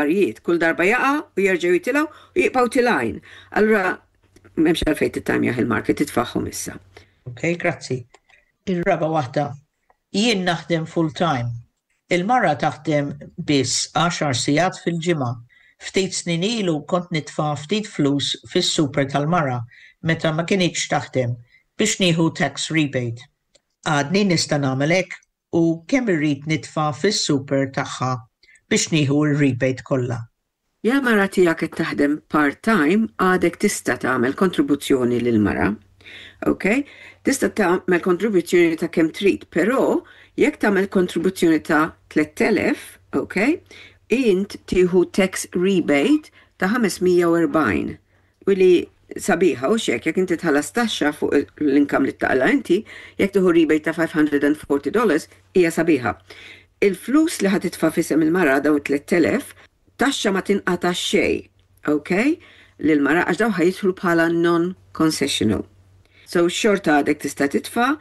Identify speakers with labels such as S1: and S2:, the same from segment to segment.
S1: Affarijiet, kull darba jaqa' u jerġgħu jitilgħu u jibqgħu tilgħin. Allura m'hemmx għalfejn tittajmjah il-market, titfagħhom issa.
S2: Ok, grazzi. Ir-raba' waħda. Jien naħdem full-time. Il-mara taħdem biss għaxar sigħat fil-ġimgħa. Ftit snin ilu kont nitfa' ftit flus fis-super tal-mara meta ma kinitx taħdem biex nieħu tax rebate. Għadni nista' nagħmel hekk u kemm irrid nitfa' fis-super tagħha biex nieħu r-rebate kollha?
S1: Ja mara tiegħek qed taħdem part-time, għadek tista' tagħmel kontribuzzjoni lil mara. Ok? Tista' tagħmel kontribuzzjoni ta' kemm trid, però jekk tagħmel kontribuzzjoni ta' 3000, ok? Int tieħu tax rebate ta' 540. U li sabiħa u xek, jekk inti tħallas taxxa fuq l-income li taqla inti, jekk tieħu rebate ta' $540 hija sabiħa. Il-flus li ħa titfa' f'isem il-mara, daw 3000, taxxa ma tinqata xejn, ok? Lil-mara, għax daw ħa jidħlu bħala non-concessional. So xorta għadek tista' titfa',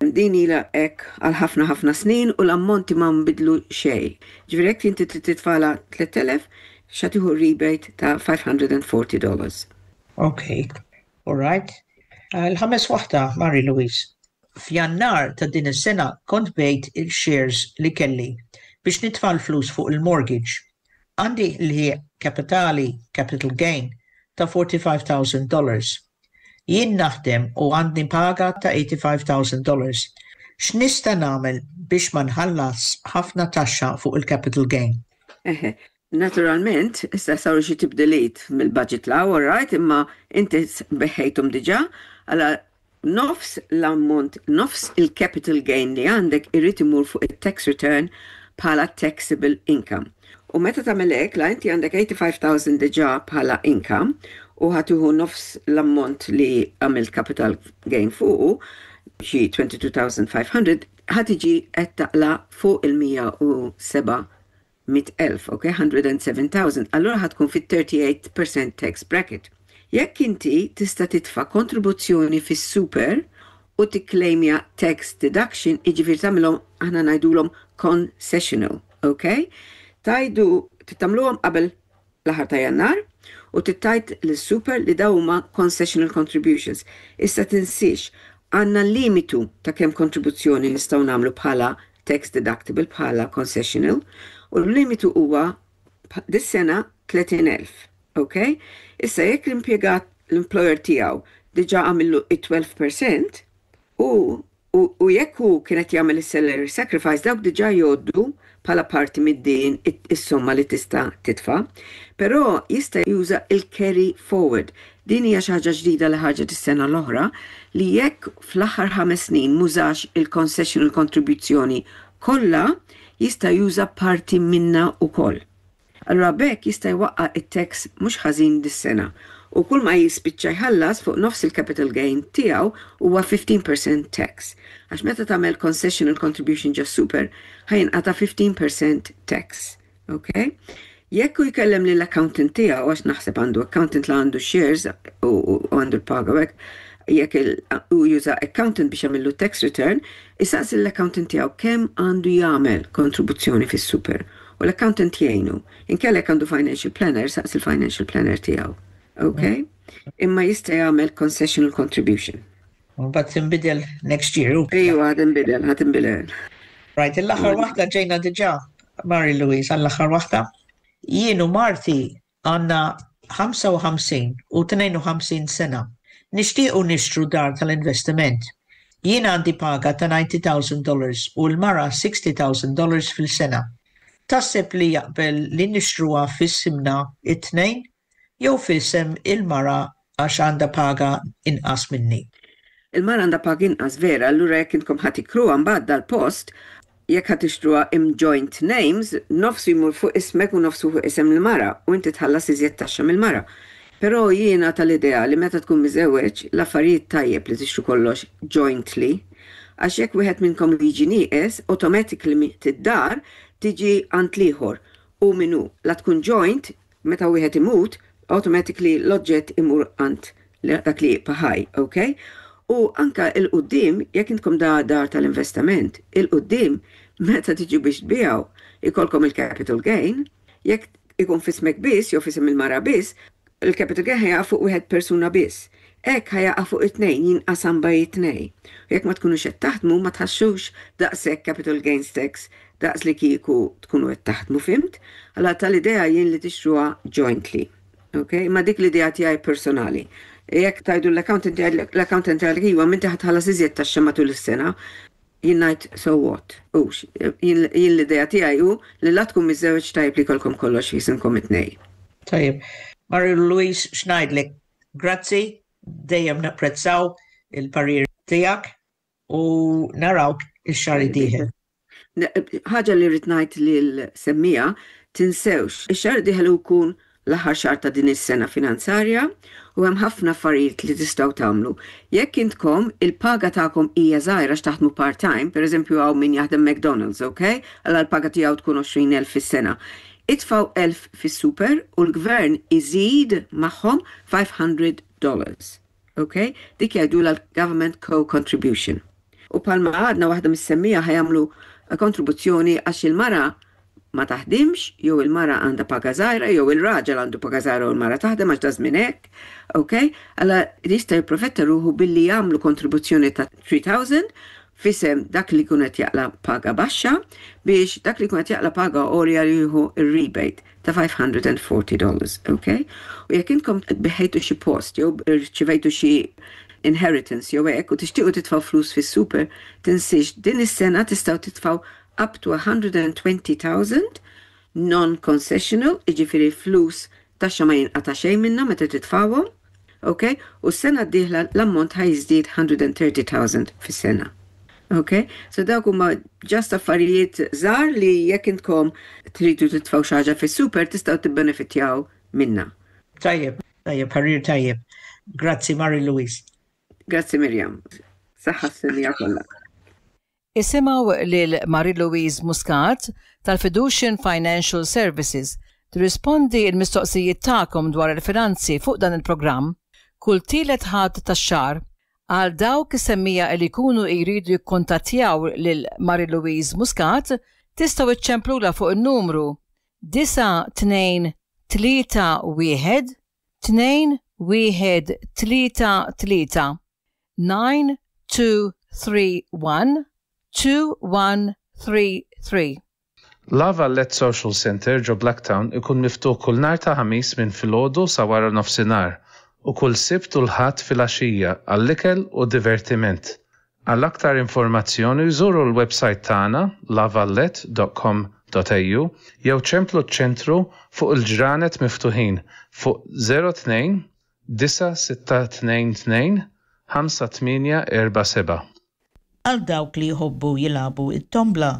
S1: din ilha hekk għal ħafna ħafna snin u l-ammonti ma nbidlu xejn. Ġifieri jekk inti titfagħla 3000, xa tieħu rebate ta' $540.
S2: Ok, all right. Il-ħames waħda, Mary Louise. F'Jannar ta' din is-sena kont bejt il-shares li kelli biex nitfa' l-flus fuq il-mortgage. Għandi l kapitali, capital gain, ta' $45,000. Jien naħdem u għandi paga ta' $85,000. X'nista' nagħmel biex ma nħallas ħafna taxxa fuq il-capital gain?
S1: Eħe, naturalment, issa saru xi tibdiliet mill-budget law, all right, imma inti bigħthom diġà, għala nofs l-ammont, nofs il-capital gain li għandek irrid imur fuq il-tax return bħala taxable income. U meta tagħmel hekk, la inti għandek 85,000 diġà bħala income u ħa tieħu nofs l-ammont li għamilt capital gain fuqu, xi 22,500, ħa tiġi qed taqla' fuq il-107,000, ok, 107,000, allura ħa tkun fit-38% tax bracket. Jekk inti tista' titfa' kontribuzzjoni fis-super u tikklejmja tax deduction, iġifieri tagħmilhom, aħna ngħidulhom concessional, ok? Tajdu tagħmluhom qabel l-aħħar ta' Jannar u tgħid lis-super li daw huma concessional contributions. Issa tinsiex, għandna limitu ta' kemm kontribuzzjoni nistgħu nagħmlu bħala tax deductible, bħala concessional, u l-limitu huwa dis-sena 30,000. Ok? Issa jekk l-impjegat, l-employer tiegħu diġà għamillu it-12% u jekk hu kienet jagħmel is-salary sacrifice, dawk diġà jgħoddu bħala parti mid-din is-somma li tista' titfa', però jista' juża il-carry forward. Din hija xi ħaġa ġdida li ħarġet is-sena l-oħra, li jekk fl-aħħar 5 snin m'użax il-concessional kontribuzzjoni kollha, jista' juża parti minna wkoll. Allura b'hekk jista' jwaqqa' it-tax mhux ħażin dis-sena u kull ma jispiċċa jħallas fuq nofs il-capital gain tiegħu huwa 15% tax. Għax meta tagħmel concessional contribution ġo super, ħa jinqata' 15% tax. Ok? Jekk hu jkellem lill accountant tiegħu, għax naħseb għandu accountant la għandu shares u għandu l-paga hekk, jekk u juża accountant biex jagħmillu tax return, isaqsi l-accountant tiegħu kemm għandu jagħmel kontribuzzjoni fis-super. U l-accountant jgħinu. Inkella jekk għandu financial planner, saqsi il-financial planner tiegħu. Ok? Imma jista' jagħmel concessional contribution.
S2: Mbagħad tinbidel next year.
S1: Ejwa, ħa tinbidel, ħa tinbidel.
S2: Right, l-aħħar waħda ġejna diġà, Mary Louise, għall-aħħar waħda. Jien u marti għandna 55 u 52 sena. Nixtiequ nixtru dar tal-investiment. Jien għandi paga ta' $90,000 u l-mara $60,000 fil-sena. Taħseb li jaqbel li nixtruha f'isimna it-tnejn jew f'isem il-mara għax għandha paga inqas minni?
S1: Il-mara għandha paga inqas, vera, allura jekk intkom ħa tikruha mbagħad dal-post, jekk ħa tixtruha in joint names, nofsu jmur fuq ismek u nofsu fuq isem il-mara u inti tħallas iżjed taxxa mill-mara. Però jiena tal-idea li meta tkun miżewweġ, l-affarijiet tajjeb li tixtru kollox jointly, għax jekk wieħed minnkom jiġi nieqes, automatically tid-dar tiġi għand l-ieħor u minnu. La tkun joint, meta wieħed imut, automatically l-oġġett imur għand dak li jibqa' ħaj, ok? U anka 'l quddiem, jekk intkom da dar tal-investiment, 'il quddiem meta tiġu biex tbigħu, ikolkom il-capital gain, jekk ikun f'ismek biss jew f'isem il-mara biss, il-capital gain ħa jaqa' fuq wieħed persuna biss. Hekk ħa jaqa' fuq it-tnejn, jinqasam bejn it-tnejn. U jekk ma tkunux qed taħdmu ma tħassux daqshekk capital gains tax daqs li kieku tkunu qed taħdmu, fhimt? Allura tal-idea jien li tixtruha jointly. Ok? Imma dik l-idea tiegħi personali. Jekk tgħidu l-accountant jgħidlek l-accountant jgħidlek iva m'inti ħa tħallas iżjed taxxa matul is-sena. Jien ngħid so what? Hux. Jien l-idea tiegħi hu li la tkun miżżewweġ tajjeb li jkollkom kollox f'isimkom it-tnejn.
S2: Tajjeb. Marie Louise x'ngħidlek? Grazzi, dejjem napprezzaw il-parir tiegħek u narawk ix-xahar id-dieħel.
S1: Ħaġa li rrid ngħid lill-semmiegħa, tinsewx, ix-xahar id-dieħel hu jkun l-aħħar xahar ta' din is-sena finanzarja u hemm ħafna affarijiet li tistgħu tagħmlu. Jekk intkom il-paga tagħkom hija żgħira għax taħdmu part-time, pereżempju hawn min jaħdem McDonald's, ok? Alla l-paga tiegħu tkun 20,000 fis-sena. Itfgħu 1,000 fis-super u l-gvern iżid magħhom 500 dollars. Ok? Dik jgħidulha l-government co-contribution. U bħalma għadna waħda mis-semmiegħa ħa jagħmlu kontribuzzjoni għax il-mara ma taħdimx jew il-mara għandha paga żgħira jew il-raġel għandu paga żgħira u l-mara taħdem għax da żmien hekk, ok? Alla jista' jipprofetta ruħu billi jagħmlu kontribuzzjoni ta' 3000 f'isem dak li jkun qed jaqla' paga baxxa biex dak li jkun qed jaqla' paga għolja jieħu r-rebate ta' 540 dollars, ok? U jekk intkom biħejtu xi post jew rċivejtu xi inheritance jew hekk u tixtiequ titfgħu flus fis-super, tinsiex din is-sena tistgħu titfgħu up to 120,000 non-concessional, jiġifieri flus taxxa ma jinqata' xejn minnha meta titfgħuhom, ok? U s-sena d-dieħla l-ammont ħa jiżdied 130,000 fis-sena. Ok? So dawk huma just affarijiet żgħar li jekk intkom tridu titfgħu xi ħaġa fis-super tistgħu tibbenefitjaw minnha.
S2: Tajjeb, tajjeb, parir tajjeb. Grazzi Marie Louise.
S1: Grazzi Miriam. Saħħa s-semmiegħa kollha.
S3: Isimgħu lil Marie Louise Muscat tal-Fiducian Financial Services tirrispondi l-mistoqsijiet tagħkom dwar il-finanzi fuq dan il-programm kull tielet Ħadd tax-xahar. Għal dawk is-semmiegħa li jkunu jridu jikkuntattjaw lil Marie Louise Muscat tistgħu iċċemplulha fuq in-numru 9 2 3 1 2 1 3 3. 9231 2133.
S4: La Valette Social Centre ġo Blacktown ikun miftuħ kull nhar ta' Ħamis minn filgħodu sa wara nofsinhar u kull Sibt u l-Ħadd filgħaxija għall-ikel u divertiment. Għal aktar informazzjoni żuru l-websajt tagħna lavallette.com.au jew ċemplu ċ-ċentru fuq il-ġranet miftuħin fuq 02 9622 5847.
S2: Għal dawk li jħobbu jilagħbu t-tombla,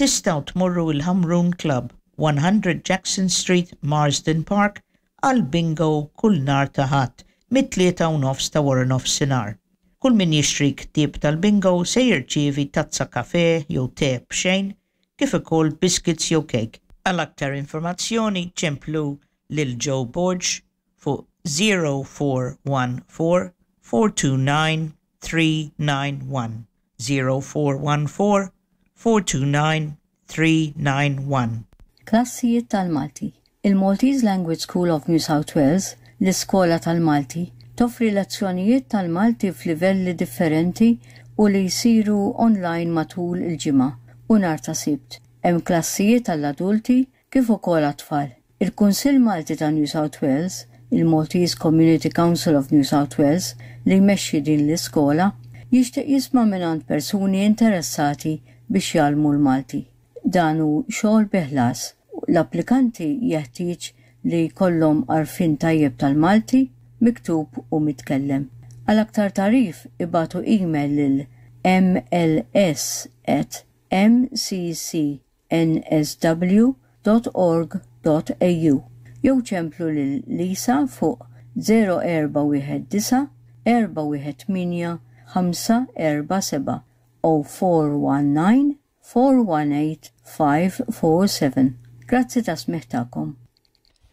S2: tistgħu tmorru l-Ħamrun Club, 100 Jackson Street, Marsden Park, għal bingo kull nhar ta' Ħadd mit-tlieta u nofs ta' waranofsinhar. Kull min jixtri ktieb tal-bingo se jirċievi tazza kafè jew te b'xejn kif ukoll biscuits jew kejk. Għal aktar informazzjoni ċemplu lil Joe Borg fuq 0414 429 391, 0414 429 391.
S5: Klassijiet tal-Malti. Il-Maltese Language School of New South Wales, l-Iskola tal-Malti, toffri lezzjonijiet tal-Malti f'livelli differenti u li jsiru online matul il-ġimgħa u nhar ta' Sibt. Hemm klassijiet għall-adulti kif ukoll għat-tfal. Il-Kunsill Malti ta' New South Wales, il-Maltese Community Council of New South Wales, li jmexxi din l-iskola, jixtieq jisma' mingħand persuni interessati biex jgħallmu l-Malti. Dan hu xogħol bi ħlas. L-applikanti jeħtieġ li jkollhom għarfien tajjeb tal-Malti, miktub u mitkellem. Għal aktar tagħrif ibagħtu email lil mls at mcc nsw dot org dot au jew ċemplu lil Lisa fuq 0419 418 547 0419 418 547. Grazzi tas-smigħ tagħkom.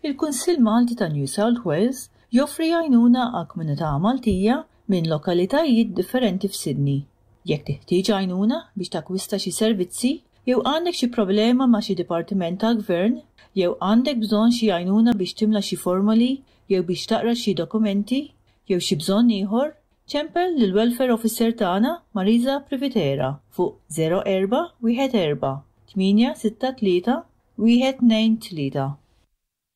S6: Il-Kunsill Malti ta' New South Wales joffri għajnuna għall-komunità Maltija minn lokalitajiet differenti f'Sydney. Jekk teħtieġ għajnuna biex takkwista xi servizzi, Jew għandek xi problema ma' xi dipartiment tal-gvern, jew għandek bżonn xi għajnuna biex timla xi formoli jew biex taqra xi dokumenti, jew xi bżonn ieħor, ċempel lill-Welfare Officer tagħna Marisa Privitera fuq 04 14 863 123.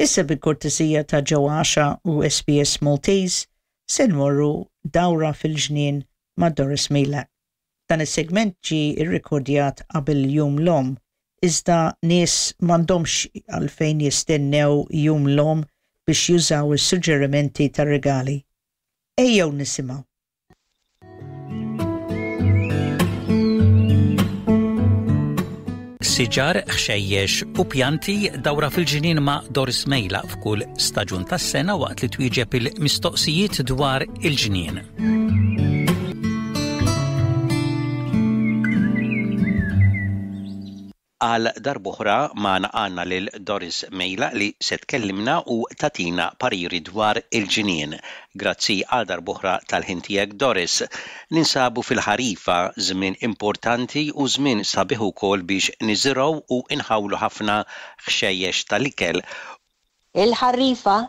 S2: Issa bil-kortesija ta' Joe u SBS Maltese se nmorru dawra fil-ġnien ma' Doris Meilak. Dan is-segment ġie rrekordjat qabel Jum l-Omm, iżda nies m'għandhomx għalfejn jistennew Jum l-Omm biex jużaw is-suġġerimenti tar-rigali. Ejjew nisimgħu.
S7: Siġar, ħxejjex u pjanti dawra fil-ġnien ma' Doris Mejla f'kull staġun tas-sena waqt li twieġeb il-mistoqsijiet dwar il-ġnien. Għal darb'oħra magħna għandna lil Doris Mejlaq li se tkellimna u tagħtina pariri dwar il-ġnien. Grazzi għal darb'oħra tal-ħin tiegħek Doris. Ninsabu fil-ħarifa, żmien importanti u żmien sabiħ ukoll biex niżirgħu u nħawlu ħafna ħxejjex tal-ikel.
S8: Il-ħarifa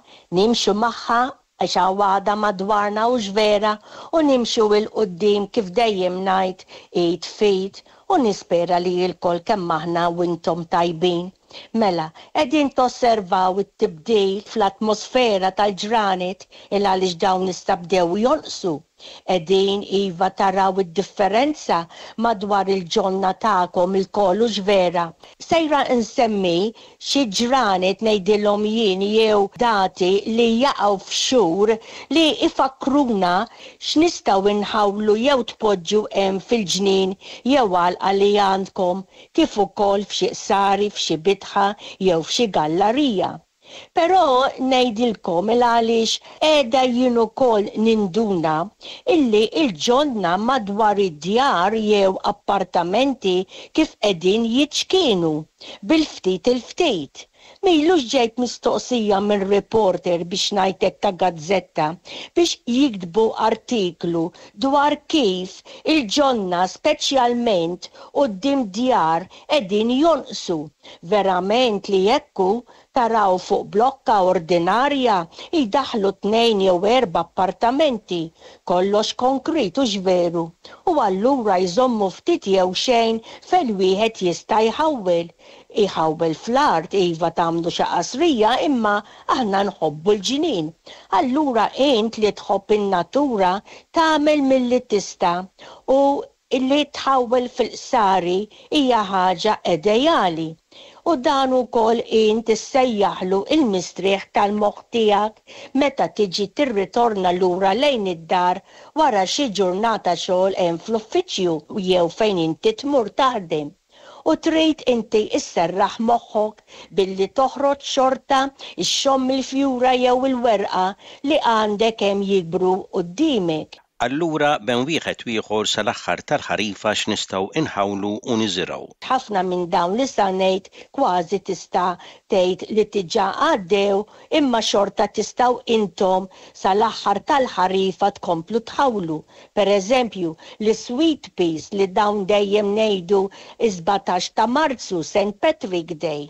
S8: nimxu magħha għax hawn għadha madwarna hux vera u nimxu 'il quddiem kif dejjem ngħid id f'id u nispera li ilkoll kemm aħna u intom tajbin. Mela, qegħdin tosservaw it-tibdil fl-atmosfera tal-ġranet il għaliex dawn issa bdew jonqsu. Qegħdin, iva, taraw id-differenza madwar il-ġonna tagħkom ilkoll hux vera? Sejra nsemmi xi ġranet ngħidilhom jien jew dati li jaqgħu f'xhur li jfakkruna x'nistgħu nħawlu jew tpoġġu hemm fil-ġnien jew għalqa li għandkom kif ukoll f'xi qsari, f'xi bitħa jew f'xi gallarija. Però ngħidilkom il-għaliex qiegħda jien ukoll ninduna illi l-ġonna madwar id-djar jew appartamenti kif qegħdin jiċkienu, bil-ftit il-ftit. M'ilux ġejt mistoqsija minn reporter biex ngħid hekk ta' gazzetta biex jiktbu artiklu dwar kif il-ġonna speċjalment quddiem djar qegħdin jonqsu. Verament li hekk hu, Taraw fuq blokka ordinarja jdaħħlu tnejn jew erba' appartamenti, kollox konkrit hux veru? U allura jżommu ftit jew xejn fejn wieħed jista' jħawwel. Jħawwel fl-art, iva tagħmlu xi qasrija imma aħna nħobbu l-ġnien. Allura int li tħobb in-natura tagħmel milli tista' u Li tħawwel fil-qsari hija ħaġa edejali, u dan ukoll int issejjaħlu il-mistrieħ tal-moħħ tiegħek meta tiġi tirritorna lura lejn id-dar wara xi ġurnata xogħol hemm fl-uffiċċju jew fejn inti tmur taħdem. U trid inti sserraħ moħħok billi toħroġ xorta xxomm il-fjura jew il-werqa li għandek hemm jikbru quddiemek.
S7: Allura bejn wieħed u ieħor sal-aħħar tal-ħarifa x'nistgħu inħawlu u niżirgħu?
S8: Ħafna minn dawn li sa ngħid kważi tista' tgħid li diġà għaddew imma xorta tistgħu intom sal-aħħar tal-ħarifa tkomplu tħawlu. Per eżempju, l-sweet peas li dawn dejjem ngħidu s-17 ta' Marzu, Saint Patrick Day.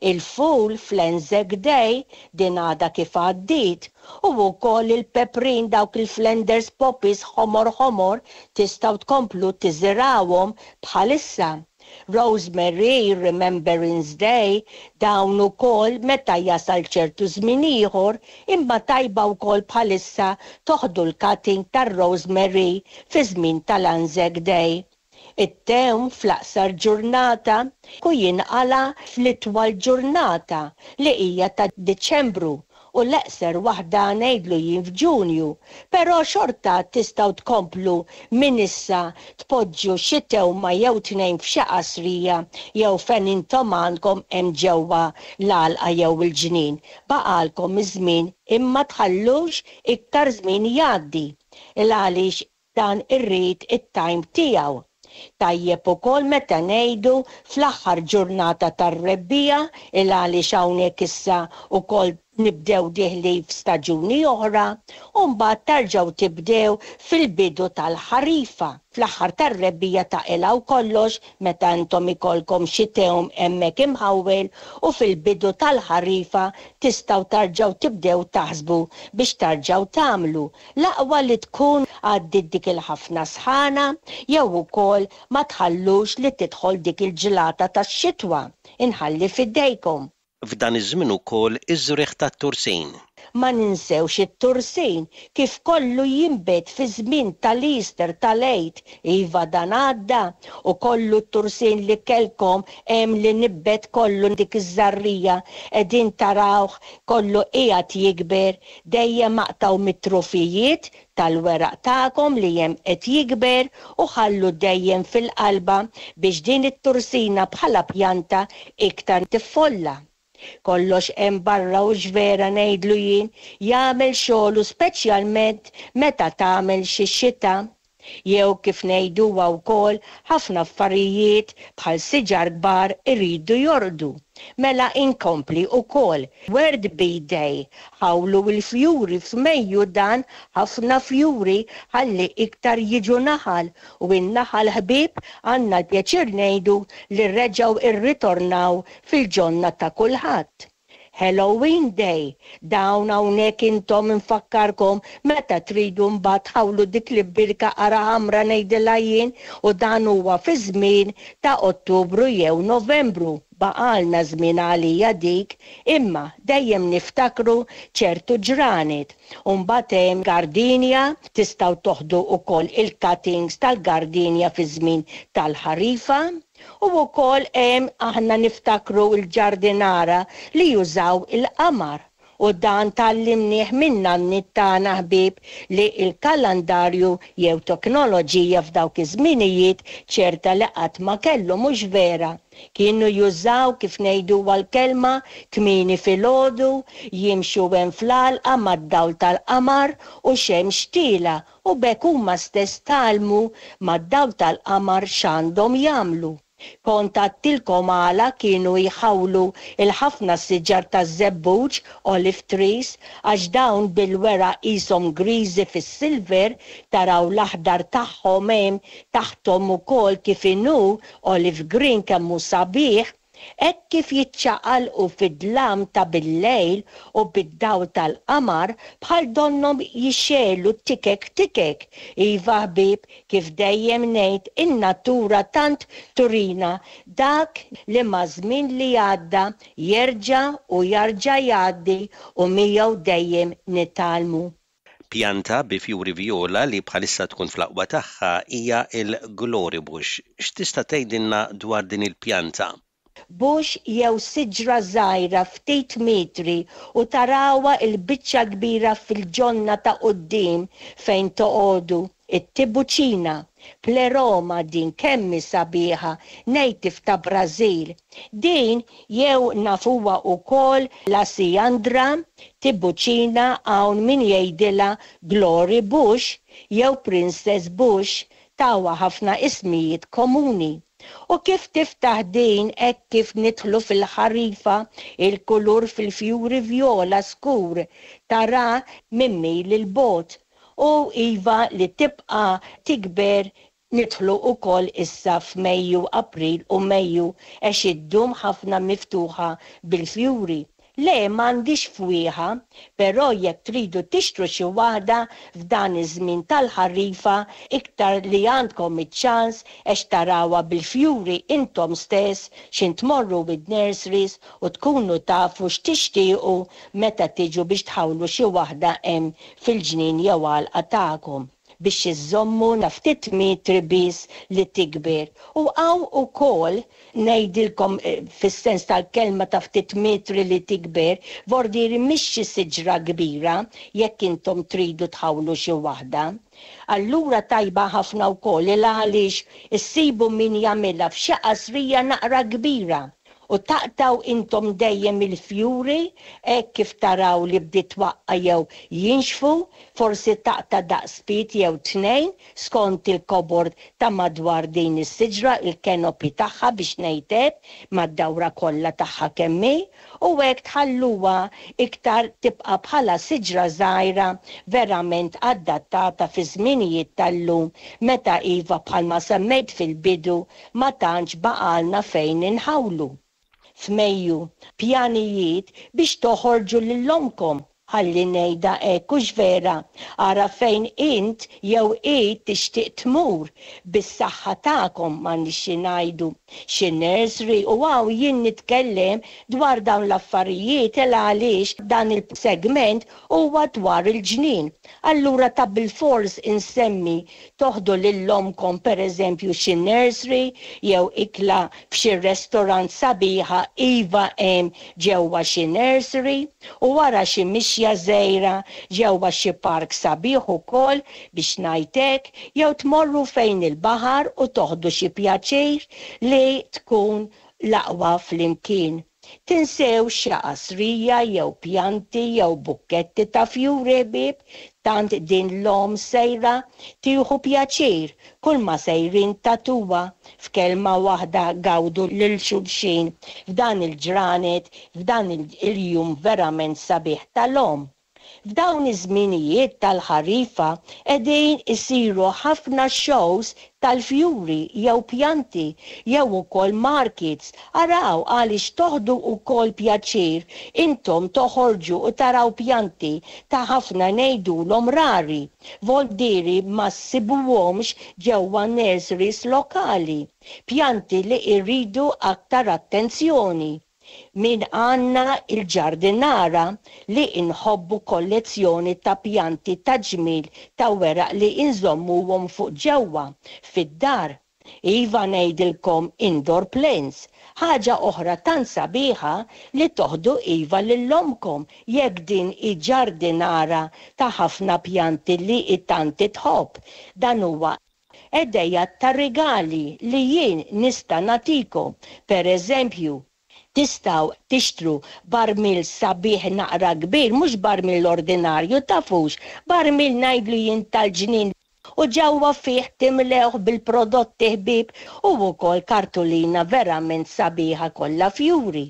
S8: Il-ful fl-Anzac Day, din għadha kif għaddiet, u wkoll il-peprin dawk il-Flanders poppies ħomor ħomor tistgħu tkomplu tiżirgħuhom bħalissa. Rosemary, Remembrance Day, dawn ukoll meta jasal ċertu żmien ieħor imma tajba wkoll bħalissa toħdu l-cutting tar-rosemary fi żmien tal-Anzac Day. It-tewm fl-aqsar ġurnata u jinqala' fl-itwal ġurnata li hija ta' Diċembru u l-eqser waħda ngħidlu jien f'Ġunju, però xorta tistgħu tkomplu minn issa tpoġġu xi tewma jew tnejn f'xi qasrija jew fejn intom għandkom hemm ġewwa l-għalqa jew il-ġnien. Baqgħalkom iż-żmien imma tħallux iktar żmien jgħaddi. Il-għaliex Dan irrid it-time tiegħu. Tajjeb ukoll meta ngħidu fl-aħħar ġurnata tar-rebbiegħa il għaliex hawnhekk issa ukoll Nibdew dieħlin f'staġuni oħra u mbagħad tarġgħu tibdew fil-bidu tal-ħarifa. Fl-aħħar tar-rebbiegħa taqilgħu kollox meta intom ikollkom xi tewm hemmhekk imħawwel u fil-bidu tal-ħarifa tistgħu tarġgħu tibdew taħsbu biex tarġgħu tagħmlu. L-aqwa li tkun għaddiet dik il-ħafna sħana jew ukoll ma tħallux li tidħol dik il-ġlata tax-xitwa. Inħalli f'idejkom.
S7: F'dan iż-żmien ukoll iż-żrigħ tat-tursin.
S8: Ma ninsewx it-tursin, kif kollu jinbet fiż-żmien tal-Easter, tal-Għid, iva dan għadda, u kollu t-tursin li kellkom hemm li nibbet kollu dik iż-żarrija qegħdin tarawh kollu qiegħed jikber, dejjem aqtgħu mit-trufijiet tal-weraq tagħkom li hemm qed jikber u ħallu dejjem fil-qalba biex din it-tursina bħala pjanta iktar tiffolla. Kollox hemm barra u x'vera ngħidlu jien, jagħmel xogħlu speċjalment meta tagħmel xi xita. Jew kif ngħiduha wkoll ħafna affarijiet bħal siġar kbar iridu jorqdu. Mela inkompli ukoll World Bee Day, ħawlu l-fjuri f'Mejju dan ħafna fjuri ħalli iktar jiġu naħal u n-naħal ħbieb għandna l-pjaċir ngħidu li reġgħu rritornaw fil-ġonna ta' kulħadd. Halloween Day, dawn hawnhekk intom infakkarkom meta tridu mbagħad tħawlu dik l-birka qara ħamra ngħidilha jien u dan huwa fi żmien ta' Ottubru jew Novembru. Baqalna żmien għalija dik, imma dejjem niftakru ċertu ġranet. U mbagħad hemm gardenia, tistgħu toħdu wkoll il-cuttings tal-gardenia fi żmien tal-ħarifa. U wkoll hemm aħna niftakru l-ġardinara li jużaw il-qamar. U dan tgħallimnieh minn nanniet tagħna ħbieb li l-kalandarju jew teknoloġija f'dawk iż-żminijiet ċerta li qatt ma kellu mhux vera. Kienu jużaw kif ngħiduha l-kelma kmieni filgħodu, jimxu hemm fl-għalqa mad-dawl tal-qamar u xemx tiela' u b'hekk huma stess tgħallmu mad-dawl tal-qamar x'għandhom jagħmlu. Kont għadtilkom għala kienu jħawlu l-ħafna siġar taż-żebbuġ, olive trees, għax dawn bil-weraq qishom griżi fis-silver, taraw l-aħdar tagħhom hemm taħthom ukoll kif inhu olive green kemm hu sabiħ, Hekk kif jiċċaqalqu fid-dlam ta' bil-lejl u bid-dawl tal-qamar, bħal donnhom jixegħlu tikek tikek. Iva ħbieb, kif dejjem ngħid, in-natura tant turina dak li maż-żmien li għadda jerġa' u jarġa' jgħaddi u miegħu dejjem nitgħallmu.
S7: Pjanta bi fjuri vjola li bħalissa tkun fl-aqwa tagħha hija l-glory bush. X'tista' tgħidilna dwar din il-pjanta?
S8: Bush jew siġra żgħira ftit metri u tarawha l-biċċa kbira fil-ġonna ta' quddiem fejn toqogħdu. It-Tibuċina, Pleroma din kemm hi sabiħa, native ta' Brażil. Din jew nafuha ukoll l-Asiandra, Tibuċina hawn min jgħidilha Glory Bush jew Princess Bush, tawha ħafna ismijiet komuni. U kif tiftaħ din hekk kif nidħlu fil-ħarifa, il-kulur fil-fjuri vjola skur, tarah minn mil 'il bogħod. U iva li tibqa' tikber nidħlu ukoll issa f'Mejju, April u Mejju għex iddum ħafna miftuħa bil-fjuri. Le m'għandix fwieħa, però jekk tridu tixtru xi waħda f'dan iż-żmien tal-ħarifa iktar li għandkom iċ-ċans għex tarawha bil-fjuri intom stess x'in tmorru id-nurseries u tkunu tafu x'tixtiequ meta tiġu biex tħawlu xi waħda hemm fil-ġnien jew għalqa tagħkom biex iżżommu ftit metri biss li tikber. U hawn ukoll ngħidilkom fis-sens tal-kelma ta' ftit metri li tikber, vordieri mhix xi siġra kbira jekk intom tridu tħawlu xi waħda. Allura tajba ħafna wkoll il għaliex issibu min jagħmilha f'xi qasrija naqra kbira. U taqtgħu intom dejjem il-fjuri hekk kif taraw li bdiet twaqqa' jew jinxfu, forsi taqta' daqs pied jew tnejn skont il-kobor ta' madwar din is-siġra, il-canopy tagħha biex ngħid hekk, mad-dawra kollha tagħha kemm hi, u hekk tħalluha iktar tibqa' bħala siġra żgħira verament adattata fiż-żminijiet tal-lum meta iva bħalma semmejt fil-bidu Ma tantx baqgħalna fejn inħawlu. F'Mejju, pjanijiet biex toħorġu lil ommkom, ħalli ngħidha hekk hux vera, ara fejn int jew hi tixtieq tmur, bis-saħħa tagħkom m'għandniex xi ngħidu, xi nursery u hawn jien nitkellem dwar dawn l-affarijiet il għaliex dan il-segment huwa dwar il-ġnien. Allura ta' bilfors insemmi Toħdu lil ommkom pereżempju xi nursery jew ikla f'xi restaurant sabiħa iva hemm ġewwa xi nursery u wara xi mixja żgħira ġewwa xi park sabiħ ukoll biex ngħid hekk jew tmorru fejn il-baħar u toħdu xi pjaċir li tkun l-aqwa flimkien. Tinsewx xi qasrija jew pjanti jew bukketti ta' fjuri ħbieb, tant din l-omm sejra tieħu pjaċir kulma sejrin tagħtuha. F'kelma waħda gawdu lil xulxin f'dan il-ġranet, f'dan il-jum verament sabiħ tal-omm. F'dawn iż-żminijiet tal-ħarifa qegħdin isiru ħafna shows tal-fjuri jew pjanti jew ukoll markets. Araw għaliex toħdu wkoll pjaċir intom toħorġu u taraw pjanti ta' ħafna ngħidulhom rari, voldieri ma ssibuhomx ġewwa nurseries lokali. Pjanti li jridu aktar attenzjoni. Min għandna il-ġardinara li nħobbu kollezzjoni ta' pjanti ta' ġmiel ta' weraq li nżommuhom fuq ġewwa fid-dar. Iva ngħidilkom indoor plants. Ħaġa oħra tant sabiħa li toħdu iva lil ommkom jekk din hi ġardinara ta' ħafna pjanti li hi tant tħobb. Dan huwa Ideat ta' rigali li jien nista' nagħtikom, per eżempju, tistgħu tixtru barmil sabiħ naqra kbir, mhux barmil ordinarju, tafux, barmil ngħidlu jien tal-ġnien u ġewwa fih timlewh bil-prodotti ħbieb u wkoll kartolina verament sabiħa kollha fjuri.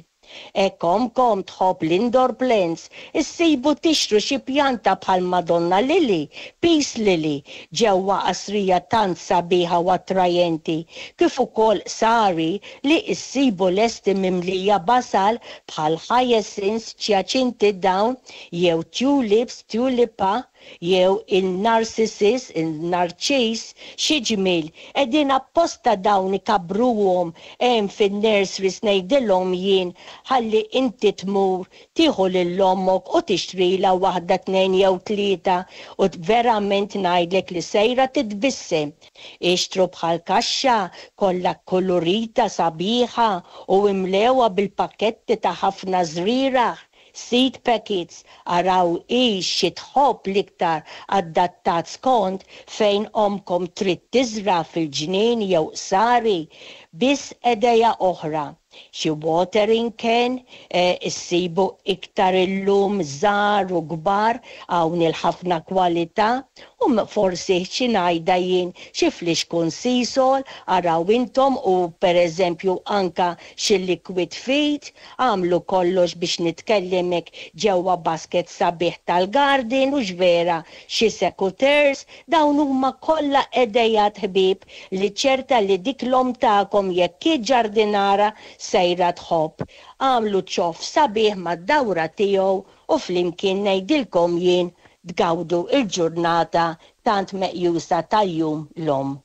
S8: Hekk ommkom tħobb l-indoor plants, issibu tixtru xi pjanta bħal Madonna Lily, Peace Lily, ġewwa qasrija tant sabiħa u attrajenti, kif ukoll sari li issibu lesti mimlija basal bħal hyacinths, ċjaċinti dawn, jew tulips, tulipa, jew in-narcissus, in-narċis, xi ġmiel, qegħdin apposta dawn ikabbruhom hemm fin-nurseries ngħidilhom jien ħalli inti tmur tieħu lil ommok u tixtrilha waħda tnejn jew tlieta u verament ngħidlek li sejra titbissem. Ixtru bħal kaxxa kollha kkulurita sabiħa u imlewha bil-pakketti ta' ħafna żrieragħ. Seed packets, araw hi xi tħobb l-iktar adattat skont fejn ommkom trid tiżra' fil-ġnien jew qsari. Biss idea oħra, xi watering can, issibu iktar illum żgħar u kbar hawn il-ħafna kwalità, u forsi xi ngħidha jien xi flixkun Seasol, araw intom u pereżempju anka xi liquid feed, Agħmlu kollox biex nitkellimek ġewwa basket sabiħ tal-garden hux vera, xi secateurs, dawn huma kollha idejat ħbieb li ċerta li dik l-omm tagħkom jekk hi ġardinara sejra tħobb. Agħmlu ċoff sabiħ mad-dawra tiegħu u flimkien ngħidilkom jien tgawdu l-ġurnata tant meqjusa ta' Jum l-Omm.